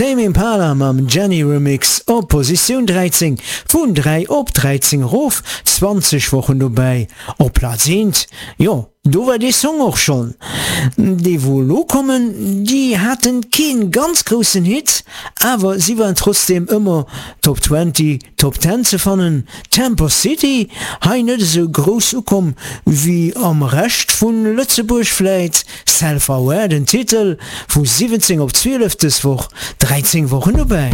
Tame Impala mam Jenny Remix op Positioun 13, vun 3 op 13 erof, 20 Wochen dobäi op Plaz 1. Jo, do war dee Song och schonn. Déi wou elo kommen, déi haten keen ganz groussen Hit, awer si waren trotzdeem ëmmer Top 20, Top 10 ze fannen. Temper City, hei net esou grouss ukomm wéi am Rescht vun Lëtzebuerg vläit. Self Aware den Titel, vu 17 op 12 dës Woch, 13 Wochen dobäi.